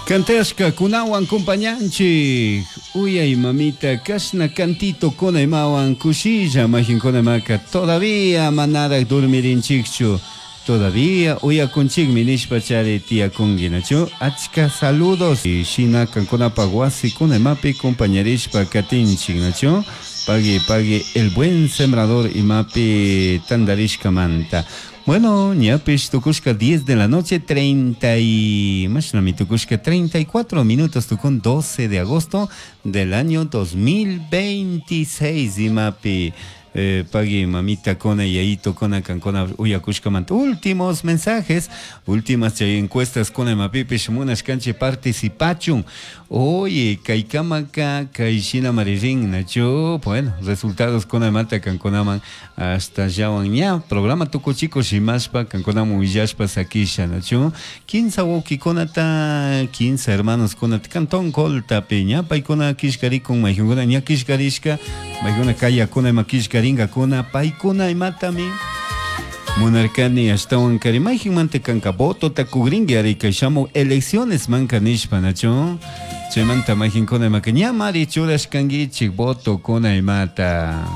Cantashka kunawan compañanchik uyay mamita kashna cantito kuna imawan kushilla majinkuna imaka todavía manaraj dormirinchikchu, todavía uyakunchikmi nishpa chari tiyakunki, nachu? Achka saludos shina kankunapaj wasi kuna imapi compañarishpa katinchik, nachu? Pagui pagui El Buen Sembrador imapi tandarishkamanta. Bueno, ñapish tukushka 10 de la noche, 30 y... Mashnami tukushka 34 minutos tukun 12 de agosto del año 2026 imapi pagui mamita kona yayito kona kankona uyakushkamanta últimos mensajes, últimas chay encuestas kona imapipish munashkanchik participachun. Oye, kaykamaka kay shina maririn, nachu? Bueno, resultados kona imata kankunaman hasta llawan ña programa tukuchiko shimashpa kankunaman willashpa sakisha, nachu? Kinsa wawkikunata, kinsa hermanos kunata cantón Coltapi ña paykuna killkarikun, mayjunkuna ña killkarishka, maykuna kayakuna ima killkarinkakuna, paykuna imatami munarkani ashtawan kari mayjinmanta kanka votota kugrinki ari kay shamuj elecciones manka nishpa, nachu? Chaymanta mayjinkuna imaka ñamari churashkankichik voto kuna imata.